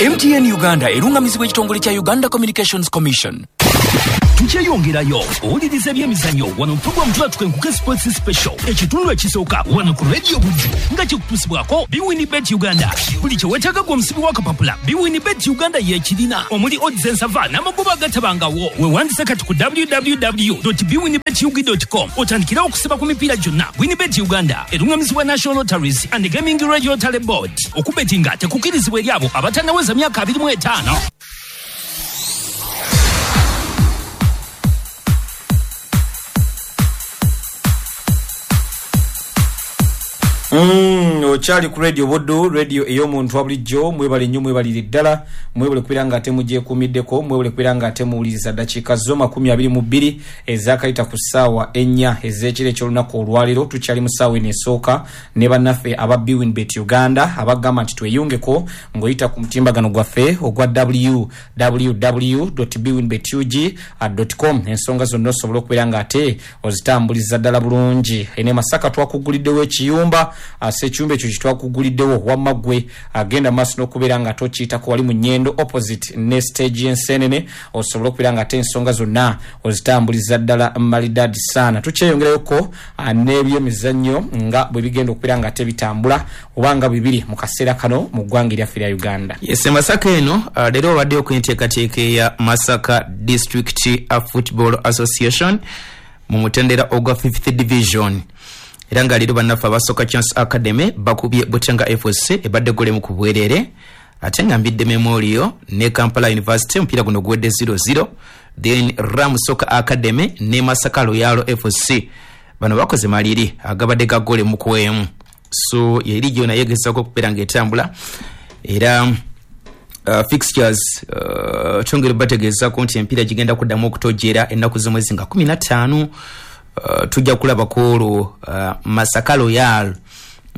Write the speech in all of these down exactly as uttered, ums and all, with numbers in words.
M T N Uganda erungamizibwa ekitongole kya Uganda Communications Commission. Tukyeyongerayo owuliriza ebyemizannyo wano program tuba Sports Special ekitundu ekisooka wano ku Radio Buddu nga kikutuusibwako Biwinibet Uganda. Buli kye weetaaga gwe omusibi w'akapapula Biwinibet Uganda y'ekirina omuli odds ensava n'amagoba agatabangawo. Weewandise kati ku w w w dot biwinibet u g dot com otandikirawo okusiba ku mipiira gyonna. Winibet Uganda erungamizibwa National Lotteries and Gaming Regulatory Board. Okubetinga tekukkirizibwa eri abo abatannaweza myaka abiri mu etaano. Mm, okyali ku Radio Buddu, radio ey'omuntu wa bulijjo. Mwebale nnyo, mwebalire ddala, mwebale kubeera nga ate mugyekuumiddeko, mwebale kubeera nga ate muwuliriza. Ddakiika zo makumi abiri mu bbiri ezaakayita ku ssaawa ennya ez'ekiro eky'olunaku olwaleero. Tukyali mu ssaawa eno esooka ne bannaffe aba Biwinbet Uganda abagamba nti tweyungeko ng'oyita ku mutimbagano gwaffe ogwa w w w dot biwinbet u g dot com. Ensonga zonna osobola okubeera nga ate ozitambuliza ddala bulungi. Ene Masaka twakuguliddewo ekiyumba, ase ekiyumba ekyo kitwakuguliddewo wamma ggwe agenda maaso n'okubeera nga tokiyitako wali mu Nyendo opposite ne stage y'Ensenene, osobola okubeera nga ate ensonga zonna ozitambuliza ddala malidadi sana. Tukyeyongerayoko n'ebyemizannyo nga bwe bigenda okubeera nga ate bitambula oba nga bibiri mu kaseera kano mu ggwanga eryaffe erya Uganda. Yes, Masaka eno leero obaddeyo ku nteekateeka eya Masaka District Football Association mu mutendera ogwa fifth Division. Era nga leero bannaffe aba Soccer Chance Academy bakubye Butenga F C ebadde golemu ku bwerere, ate nga Mbidde Memorial ne Kampala University omupiira guno guwedde zero zero. Then Ram Soccer Academy ne Masaka Royal F C bano bakoze maliri agabadde ga golemu ku emu. So ye liigi yona yegezaako okubeera ng'etambula era uh, fixtures uh, twongere bategeezaako nti emipiira gigenda kuddamu okutojjera ennaku z'omwezi nga kumi na ttaano. Uh, tujja kulaba ku olwo uh, Masaka Royal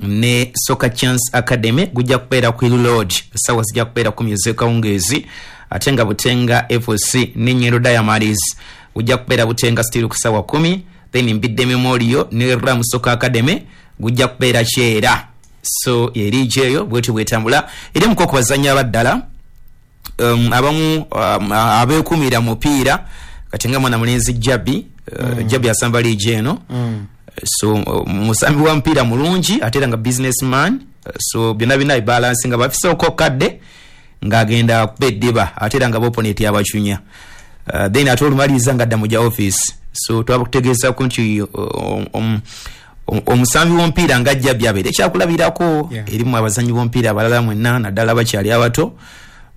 ne Soccer Chance Academy gujja kubeera ku Hill Lodge, essaawa zijja kubeera kumi ez'ekawungeezi, ate nga Butenga F C ne Nyendo Diamonds gujja kubeera Butenga Steel ku ssaawa kumi. Then Mbidde Memorial ne Ram Soccer Academy gujja kubeera Kyera. So ye liigi eyo bwetyo bwetambula. Era emuko ku bazannyi abaddala um, abamu um, abeekuumira mupiira kati nga mwana mulenzi Jabi Uh, mm. Jabi asamba liigi eno mm. So uh, musambi wa mpiira mulungi ate era nga businessman, uh, so byonna byonna bibalansi nga bafiseeko kadde ng'agenda kuba eddiba ate era nga boponeti abacunya, uh, then ate olumaliriza ng'adda mu gya office. So twabakutegeezaako nti um, omusambi w'omupiira nga Jabi abeere ekyakulabirako yeah. Erimu abazannyi b'omupiira abalala mwenna naddala abakyali abato,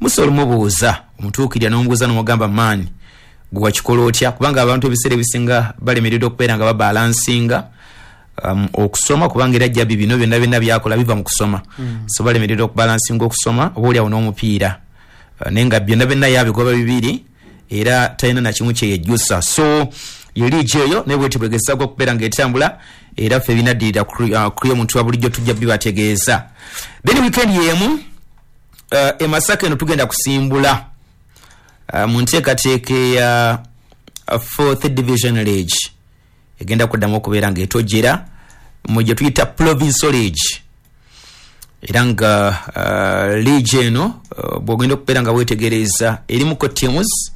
musobola omubuuza omutuukirira n'omubuuza n'omugamba maani gwe wakikola otya, kubanga abantu ebiseera ebisinga balemereddwa okubeera nga babalansinga um, okusoma, kubanga era Jabi bino byonna byonna byakola biva mu kusoma mm. So balemereddwa okubalansinga okusoma oba oliawo n'omupiira, uh, naye nga byonna byonna yabigoba bibiri era talina nakimu kyeyejjusa. So ye liigi eyo naye bwetyo bwegezaako okubeera ng'etambula era ffe ebinaddirira ku omuntu wa bulijjo tujja bibategeeza. Then weekend y'emu uh, e Masaka eno tugenda kusimbula Uh, mu nteekateeka eya uh, fourth Division League egenda kuddamu okubeera ng'etojjera mu gye tuyita Provincial League. Era nga uh, league eno uh, bw'ogenda okubeera nga weetegereza erimuko teams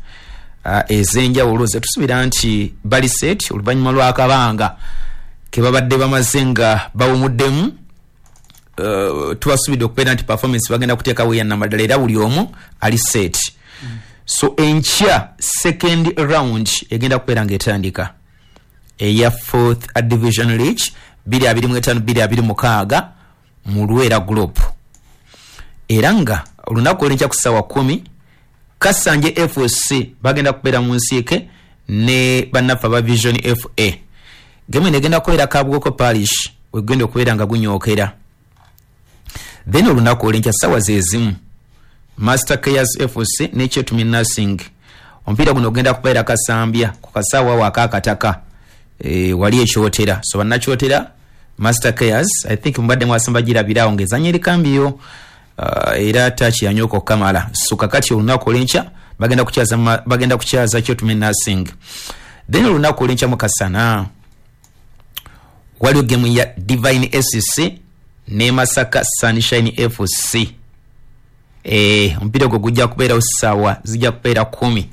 uh, ez'enjawulo zetusuubira nti bali set oluvannyuma lw'akabanga ke babadde bamaze nga bawumuddemu. Uh, tubasuubidde okubeera nti performance bagenda kuteekawo eya nnamaddala era buli omu ali set mm. So enkya second round egenda kubeera ng'etandika eya fourth Division League bbiri abiri mu etaano bbiri abiri mukaaga mu Lwera Group. Era nga olunaku olw'enkya ku ssaawa kumi Kasanje F C bagenda kubeera mu nsiike ne bannaffe aba Vision F A. Gemu eno egenda kubeera Kabwoko Parish wegenda okubeera nga gunyookera. Then olunaku olw'enkya ssaawa ze zimu Master Cares F C ne Kyetumi Nursing omupiira guno ogenda kubeera Kasambya ku kasaawa awo ak'akataka e, wali ekyotera. So bannakyotera Master Cares I think mubadde mwasamba girabirawo ng'ezannya eri kambiyo uh, era taaki yanyooka okukamala. So kakati olunaku olw'enkya bagenda kukyaza bagenda kukyaza Kyetumi Nursing. Then olunaku olw'enkya mu kasana waliwo gemu ya Divine S C ne Masaka Sunshine F C. Eh, omupiira ogwo gujja kubeerawo ssaawa zijja kubeera kumi.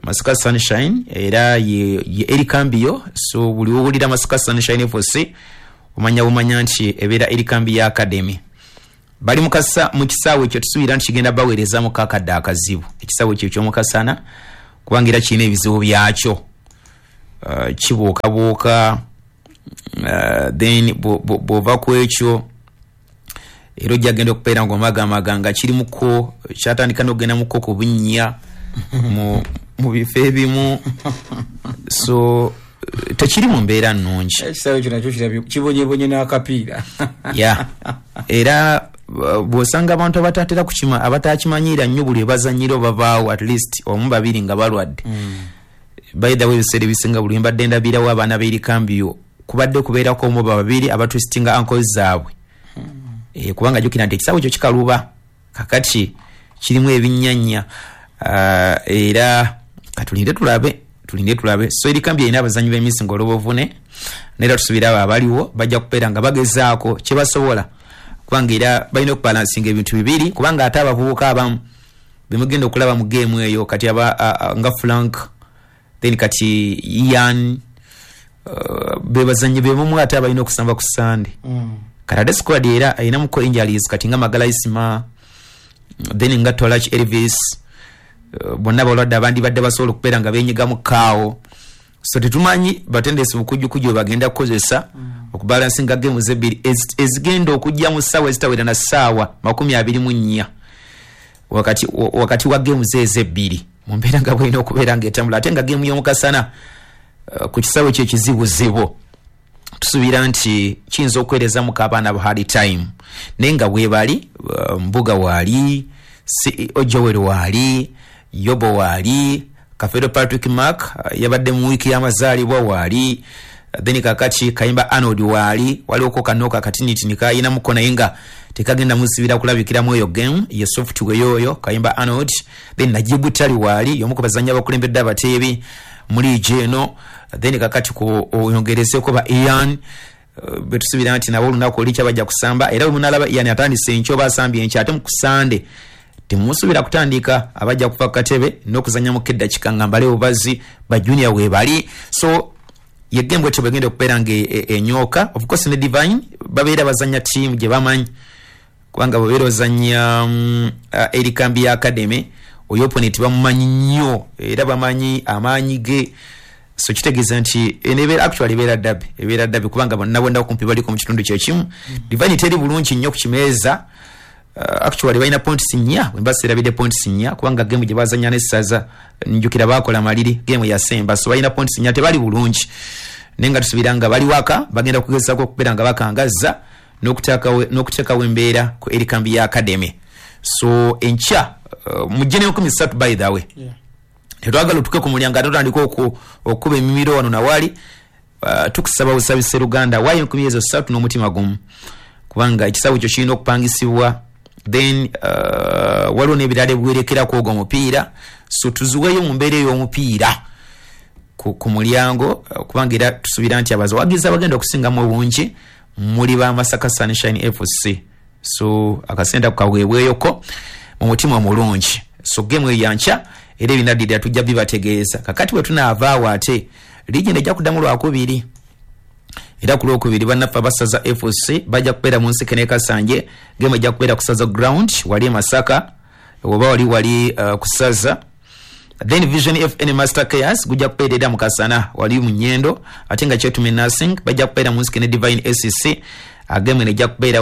Masaka Sunshine era ye, ye Erikambio. So buli wowulira Masaka Sunshine F C, omanya bumanya nti ebeera Erikambio Academy. Bali mukasa mu kisaawe ekyo, tusuubira nti kigenda baweerezamu kakadde akazibu ekisaawe ekyo ekyomukasana, kubanga era kirina ebizibu byakyo. uh, kibuukabuuka. uh, then bw'ova ku ekyo, era ojja genda okubeera nga omagamaga nga kirimuko kyatandika n'okugenda muko ku bunnya mu, mu bifo ebimu, so tekiri mu mbeera nnungi. Ekisaawe ekyo nakyo kirabye kibonyebonye n'akapiira. Ya, era uh, bw'osanga abantu abatatera kukima, abatakimanyiira nnyo, buli ebazanyira obavaawo at least omu, babiri nga balwadde. mm. By the way, ebiseera ebisinga buli mbadde ndabirawo abaana b'Erikambio, kubadde kubeerako omu oba babiri abatwistinga ankles zaabwe. mm. e, kubanga jjukira nti ekisaawe ekyo kikaluba, kakati kirimu ebinnyanya. uh, era katulinde tulabe, tulinde tulabe. So Erikambio erina abazanyi b'emisi nga olwobuvune, naera tusuubira abo abaliwo bajja kubeera nga bagezaako kyebasobola, kubanga era balina okubalansinga ebintu bibiri, kubanga ate abavubuka abamu bemugenda okulaba mu geemu eyo kati aba a, a, nga Frank, then kati Ian, uh, bebazanyi bemumu ate abalina okusamba ku Sande. mm. Kati ate squad era erinamuko injuries, kati nga Magala Isima, then nga Tolach Elvis, uh, bonna balwadde, abandi badde basobola okubeera nga benyigamu kaawo. So tetumanyi batendesi bukujjukuju bwe bagenda kukozesa mm. okubalansinga gemu zebbiri ezigenda okujja mu ssaawa ezitawera na ssaawa makumi abiri mu nnya wakati, wakati wa gemu zeezo ebbiri, mu mbeera nga bwelina okubeera nga etambula. Ate nga gemu y'omukasana uh, ku kisaawe kyo ekizibuzibu, tusuubira nti kiyinza okwerezamuko abaana ba hard time, naye nga bwebali uh, Mbuga waali, C E O Joel waali, Yobo waali, Kafeero Patrick Mark uh, yabadde mu wiiki y'amazaalibwa waali, then kakati Kayimba Arnold waali. Waliwoko kanoka katinitini kayinamuko, naye nga tekagenda musibira kulabikiramu eyo game ye software yoyo Kayimba Arnold. Then Najibu Tali waali, y'omu ku bazannyi abakulembedde abateebi mu liigi eno. Then kakati ku oyongerezeko ba Ian, uh, betusuubira nti nabo olunaku olikya bajja kusamba. Era bwe munalaba Ian atandise enkya oba asambye enkya, ate mu kusande temusuubira kutandika, abajja kuva ku katebe n'okuzanyamuko eddakiika nga mbale bubazi ba junior weebali. So ye game bwetyo bwegenda okubeera nga enyooka. Of course ne Divine babeera bazanya tiimu gye bamanyi, kubanga bwebeera ozanya um, uh, Erikambi ya Academy, oyo opponent bamumanyi nnyo era bamanyi amaanyi ge. So kitegeeza nti enebeera actually ebeera derby, ebeera derby, kubanga bonna bonna kumpi baliko mu kitundu kyekimu. mm. Divine teri bulungi nnyo ku kimeeza. uh, actually balina points nnya, wemba serabidde points nnya, kubanga game gye bazanya n'Essaza njukira bakola maliri game yasemba. So balina points nnya, tebali bulungi, naye nga tusuubira nga bali waka bagenda kugezaako okubeera nga bakangazza n'okuteekawo embeera ku Erikambi ya Academy. So enkya uh, mujje n'enkumi ssatu. By the way, yeah. Tetwagala otuke ku mulyango ate otandika okukuba emimiro wano nawali. uh, tukusaba busabi seruganda, waayo enkumi ezo ssatu n'omutima gumu, kubanga ekisaawe ekyo kirina okupangisibwa, then uh, waliwo n'ebirala ebiwerekerako ogwo omupiira. So tuziweeyo mu mbeera ey'omupiira ku, ku mulyango, uh, kubanga era tusuubira nti abawagizi abagenda okusingamu obungi muli ba Masaka Sunshine F C. So akasente ako kaweebweyoko mu mutima omulungi. So gemu eyo yankya, era ebinaddirira tujja bibategeeza. Kakati bwe tunaavaawo, ate liigi ejja kuddamu lwakubiri, era ku lwokubiri bannaffe abasaza F C bajja kubeera mu nsike n'Ekasanje. Gemu ejja kubeera ku Saza ground wali e Masaka, oba wali wali uh, ku Saza. Then Vision F N Master Cares gujja kubeera era mu Kasana wali mu Nyendo, ate nga Kyetume Nursing bajja kubeera mu nsike ne Divine S C. Agemu ejja kubeera